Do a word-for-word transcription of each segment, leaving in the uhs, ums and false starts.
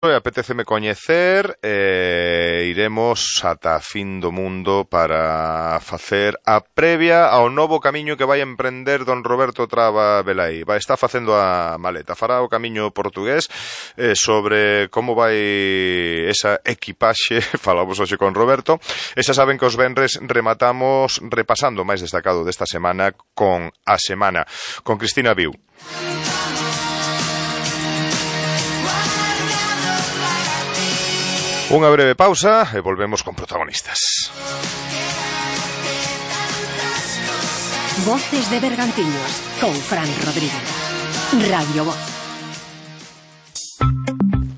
Apetéceme coñecer e iremos ata a fin do mundo para facer a previa ao novo camiño que vai emprender don Roberto Traba Velaí. Vai estar facendo a maleta, fará o camiño portugués eh, sobre como vai esa equipaxe. Falamos hoxe con Roberto e xa saben que os venres rematamos repasando o máis destacado desta semana con a semana con Cristina Viu. Unha breve pausa e volvemos con protagonistas. Voces de Bergantiños con Fran Rodríguez. Radio Voz.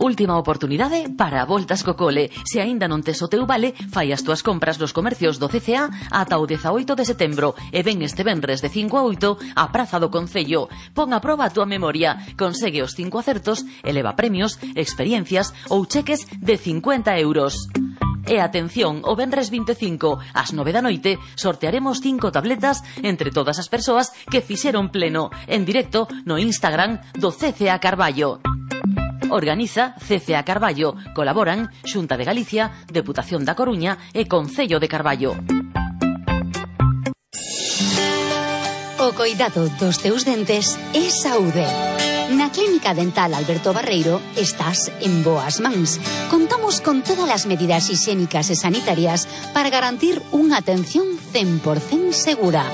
Última oportunidade para voltas co cole. Se aínda non tes o teu vale, fai as túas compras nos comercios do C C A ata o dezaoito de setembro e ven este venres de cinco a oito á Praza do Concello. Pon a proba a túa memoria, consegue os cinco acertos, eleva premios, experiencias ou cheques de cincuenta euros. E atención, o venres vinte e cinco ás nove da noite sortearemos cinco tabletas entre todas as persoas que fixeron pleno en directo no Instagram do C C A Carballo. Organiza C C A Carballo. Colaboran Xunta de Galicia, Deputación da Coruña e Concello de Carballo. O coidado dos teus dentes é saúde. Na Clínica Dental Alberto Barreiro estás en boas mans. Contamos con todas as medidas higiénicas e sanitarias para garantir unha atención cen por cento segura.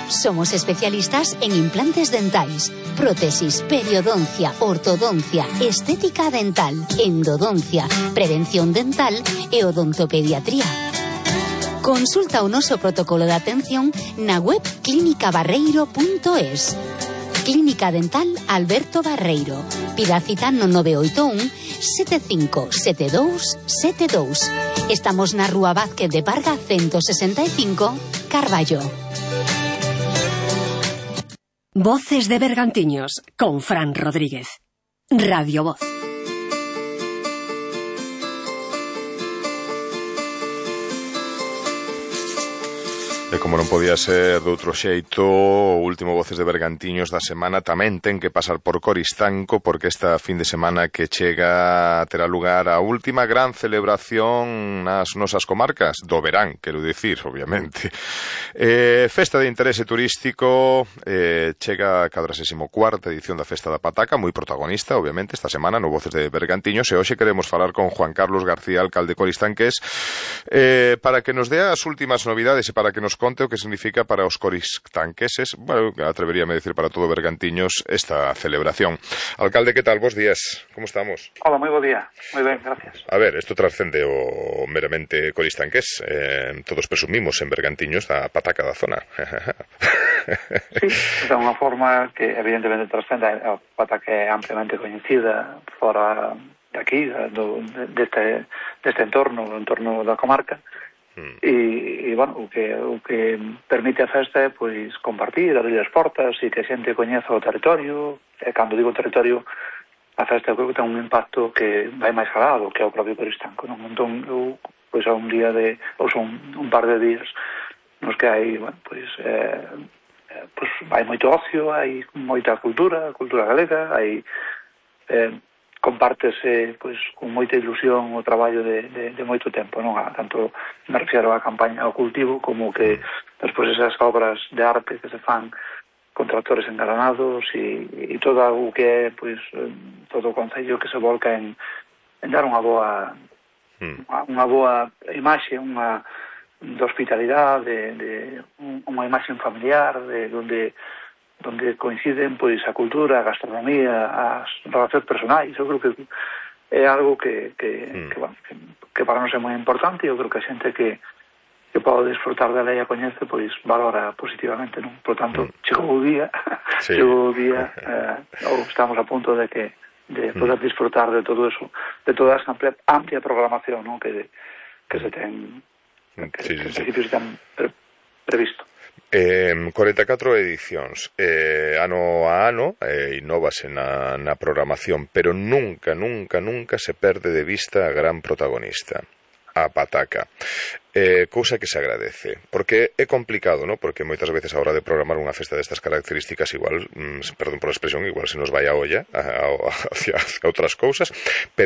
Somos especialistas en implantes dentais, prótesis, periodoncia, ortodoncia, estética dental, endodoncia, prevención dental e odontopediatría. Consulta o noso protocolo de atención na web clínica barreiro punto es. Clínica Dental Alberto Barreiro. Pida cita no nove oito un sete cinco sete dous sete dous. Estamos na Rúa Vázquez de Parga ciento sesenta e cinco, Carballo. Voces de Bergantiños con Fran Rodríguez. Radio Voz. E como non podía ser de outro xeito, o último Voces de Bergantiños da semana tamén ten que pasar por Coristanco, porque esta fin de semana que chega terá lugar a última gran celebración nas nosas comarcas do verán, quero dicir, obviamente. Eh, festa de interese turístico, eh, chega a cuadragésima cuarta edición da Festa da Pataca, moi protagonista, obviamente, esta semana no Voces de Bergantiños, e hoxe queremos falar con Juan Carlos García, alcalde coristanqués, eh, para que nos dé as últimas novidades e para que nos conte o que significa para os coristanqueses, bueno, atreveríame a decir para todo Bergantiños, esta celebración. Alcalde, que tal? Bos días, como estamos? Hola, moi bo día, moi ben, gracias. A ver, isto trascende o meramente coristanqués, eh, todos presumimos en Bergantiños da pataca da zona. Sí, é unha forma que evidentemente trascende, a pataca é ampliamente coñecida fora de aquí, do, deste, deste entorno, do entorno da comarca. Mm. E, e, bueno, o que, o que permite a festa é, pois, compartir, abrir as portas e que a xente coñeza o territorio. E cando digo territorio, a festa creo que ten un impacto que vai máis alado que é o propio Coristanco, non? Entón, eu, pois, a un día de, ou son un par de días nos que hai, bueno, pois, eh, pois, hai moito ocio, hai moita cultura, cultura galega, hai... Eh, compártese pois con moita ilusión o traballo de, de, de moito tempo, non? A, tanto me refiero á campaña ao cultivo como que despois esas obras de arte que se fan con tractores engalanados e, e todo o que é pois todo o concello que se volca en, en dar unha boa mm. unha boa imaxe, unha de hospitalidade, de, de unha imaxe familiar, de onde donde coinciden pois a cultura, a gastronomía, as relacións personais. Eu creo que é algo que que, mm. que, bueno, que, que para nós é moi importante e eu creo que a xente que, que pode disfrutar dela e a coñece, pois valora positivamente, non? Por tanto, mm. chegou o día, sí. chegou o día, eh, ou estamos a punto de que de poder mm. disfrutar de todo eso, de toda esa amplia, amplia programación, non? Que, que se ten, que, sí, sí, que en principio sí. se ten pre, previsto. Eh, cuarenta e catro edicións, eh, ano a ano, eh, innovase na, na programación, pero nunca, nunca, nunca se perde de vista a gran protagonista. a pataca. Eh, cousa que se agradece, porque é complicado, ¿no? Porque moitas veces a hora de programar unha festa destas características igual, mm, perdón por a expresión, igual se nos vai a olla a, a, hacia, hacia outras cousas, pero